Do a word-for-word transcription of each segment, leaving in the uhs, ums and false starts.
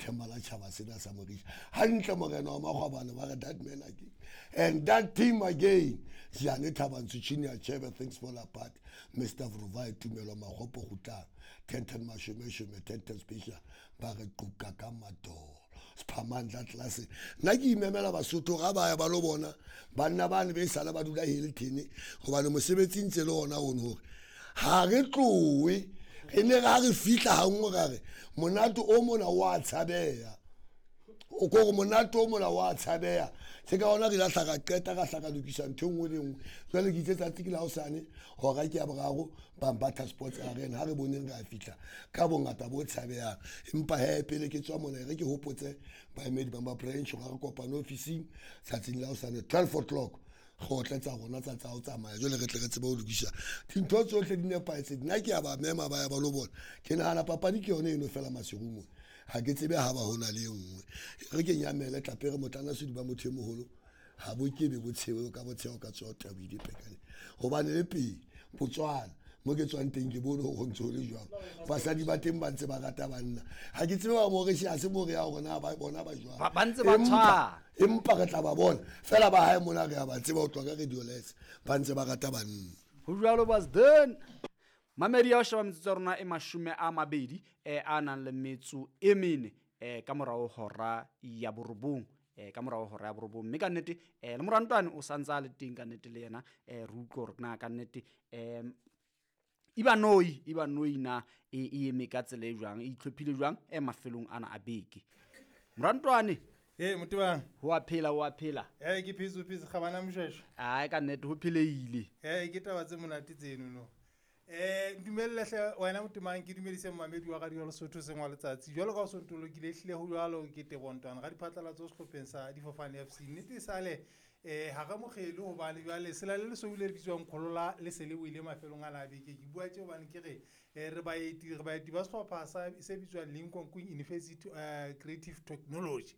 Themba la tjhaba sena sa Morisha hantle morena wa makgwabane ba re that man again and that team again. Jane Thabantsho Junior Chebe, things fall apart, Mister Vruvai Tumelo Magopo Gutlang ten ten mashome shome ten ten special ba re quka ka matolo Sphamandla class. Nna ke imemela Basotho ga ba ya ba lo bona banna bane be sala ba dula Hilton hobane mosebetsi ntse le ona ono hore ha re tlowe re ne ra re fihla ha nngwe ra re monate o mona wa tshabeha o ko re monate o mona wa tshabeha se ka ona re la hlaka qeta ka hlaka lokisa ntho e nngwe le nngwe. Jwale ke itse tsatsi ke la hosane hora ke ya boraro Bambatha Sports Arena ha re boneng re a fihla ka bongata bo tshabehang. Empa he pele ke tswa mona re ke hopotse baemedi ba branch hore re kopane ofising tsatsing la hosane twelve o'clock kgotle tsa rona tsa tsa ho tsamaya jwale re tle re tsebe ho lokisa dintho tsohle di nepahetse. Nna ke a ba mema ba ya ba lo bona. Ke nahana papadi ke yone eno fela masiung mona ha ke tsebe ha ba hona le e nngwe. Re ke nyamele tlapere motlana sediba motho e moholo ha bo kebe bo tshewe ka botsheo ka tswa tabile pekane hobane le pele Botswana mo ke tswang teng ke bone ho ntse ho le jwalo basadi ba teng ba ntse ba rata banna ha ke tsebe ba mo re ha se mo re ya rona ba bona ba jwang ba ntse ba tshwana empa re tla ba bona fela ba hae mona re a ba tseba ho tloha ka radio les ba ntse ba rata banna ho jwalo basden mamedi ya sheba metsotso ya rona e mashome a mabedi eh a nang le metso e mene eh ka morao hora ya borobong eh ka morao hora ya borobong mme ka nnete eh le morantwane o santse a le teng ka nnete le yena eh re utlwe hore na ka nnete eh Ibanoi Ibanoi na e e eme ka tsela e jwang e itlhophile jwang e mafelong ana a beke morantwane eh motebang ho a phela ho a phela eh ke phetse phetse gabana mshweshwe ai ka nnete ho pheleile eh ke taba tse monate tseno no eh dumelle hle wena motemang ke dumedise mmamedi wa Radio Lesotho sengwa letsatsi jwalo ka o sontolokile hlile ho jwalo ke Tebontwana ga diphatlalatso sehlopheng sa Difofane F C nnete sale eh ha re mogele hobane jwale sela le lesoule le bitswang Kholola le se le boile mafelong a la beke ke bua tje hobane ke re re baeti re baeti ba sehlopha sa se bitswang Lincoln Queen University Creative Technology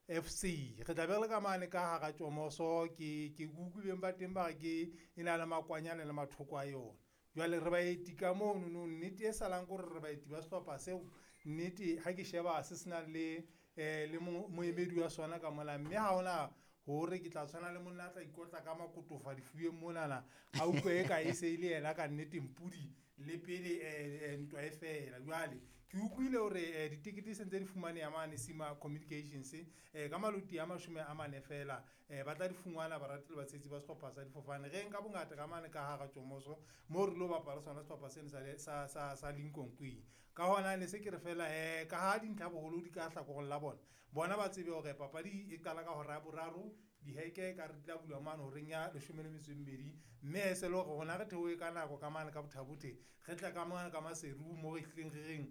F C re tla be re le ka mane ka hara Tjomoso ke ke kukuleng ba teng ba re ke e na le makwanyane le mathoko a yona jwale re baeti ka mono no nnete e salang kore re baeti ba sehlopha seo nnete ha ke sheba se senang le eh le moemedi wa sona ka mola mme ha hona hore ke tla tshwana le monna a tla ikotla ka makotofa difubeng monana a utlwe e ka e se ile yena ka nnete mpudi le pele eh ntwa e fela jwale ke utlwile hore ditikete se ntse di fumaneha mane Sima Communications eh ka maloti a mashome a mane fela eh ba tla di fumana barati le batshetsi ba sehlopha sa Difofane re nka bongata ka mane ka hara Tjomoso mo re lo bapala sona sehlopha sena sa sa sa Lincoln Queen ka hona ne se ke re fela eh ka ha dintlha boholo di ka hlakoreng la bona bona ba tsebe hore papadi e qala ka hora ya boraro diheke ka re tla bulwa mane horeng ya leshome le metso e mmedi mme se le hore rona re theohe ka nako ka mane ka Bothabothe re tla ka mane ka Maseru mo re hlileng re reng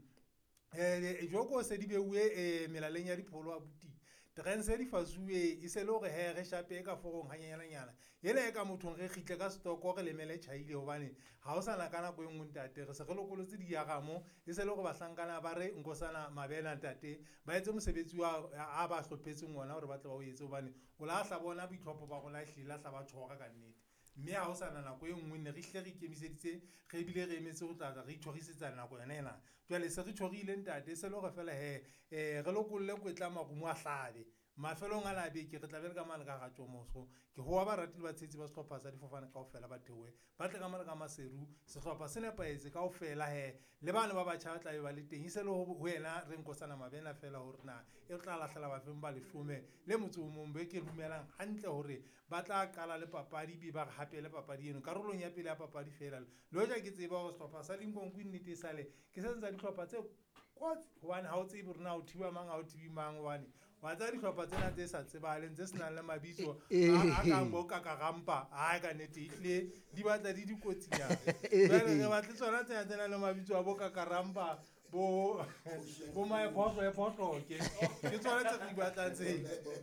eh joko se di beuwe eh melaleng ya dipholo abuti trense di fasuwe e se le hore he re shape ka forong hanyenyana ele e ka mothong re kgitle ka stoko re lemele tjhaile hobane ha o sana ka nako e nngwe ntate re se re lokolotse diaramo e se le hore bahlankana ba re nkosana mabena ntate ba etse mosebetsi wa a ba hlophetseng ona hore ba tle ba o etse hobane o la hla bona boitlhopho ba rona hlile la hla ba tshwara ka nnete mme ha o sana nako e nngwe ne re hle re ikemiseditse re ebile re emetse ho tla re ithoриsetsa nako yona ena jwale se re thorile ntate se le hore fela he eh re lokolle kwetla marumo a hlabe mafelong a la beke re tla be le ka mane ka ga Tjomoso ke hoa barati le batshetsi ba sehlopha sa Difofane kaofela ba theohe ba tle ka mane ka Maseru sehlopha se nepahetse kaofela he le bana ba batjha ba tla be ba le teng e se le ho yena re nkosana mabena fela hore na e tla lahlela bafeng ba leshome le motse o mong be ke dumelang hantle hore ba tla qala le papadi be ba re hape le papadi eno karolong ya pele ya papadi fela le hoja ke tseba hore sehlopha sa Lincoln Queen nnete e sale ke se seng sa dihlopha tse kotsi hobane ha o tsebe hore na o thiba mang ha o thibi mang hobane wa tseba dihlopha tsena tse sa tsebahaleng tse senang le mabitso a kang bo Kakarampa ai ka nnete ehlile di batla di dikotsinyana jwale re batle tsona tsena tse nang le mabitso a bo Kakarampa bo bo Maephohlo ephohlo ke ke tsona tse re di batlang tse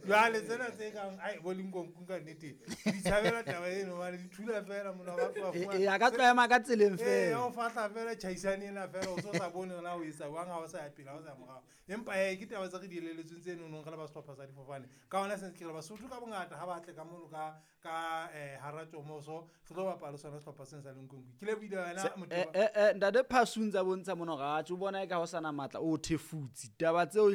jwale tsena tse kang ai bo Lincoln Queen ka nnete di tshabela taba eno hobane di thula fela mona ba tloha fumana e a ka tloha ka tseleng fela eh o fahla fela tjhaisane ena fela o so sa bone hore na o etsa jwang ha o sa ya pele ha o sa ya morao empa eh ke taba tse re di elelletsweng tse nonong re le ba sehlopha sa Difofane ka hona se ke re Basotho ka bongata ha ba tle ka mono ka ka eh hara Tjomoso re tlo bapala sona sehlopha sena sa Lincoln Queen ke le buile wena motho eh eh ntate Phasuntsa bontsha mono ga tso bona e ka ho sana matla o thefutsi taba tseo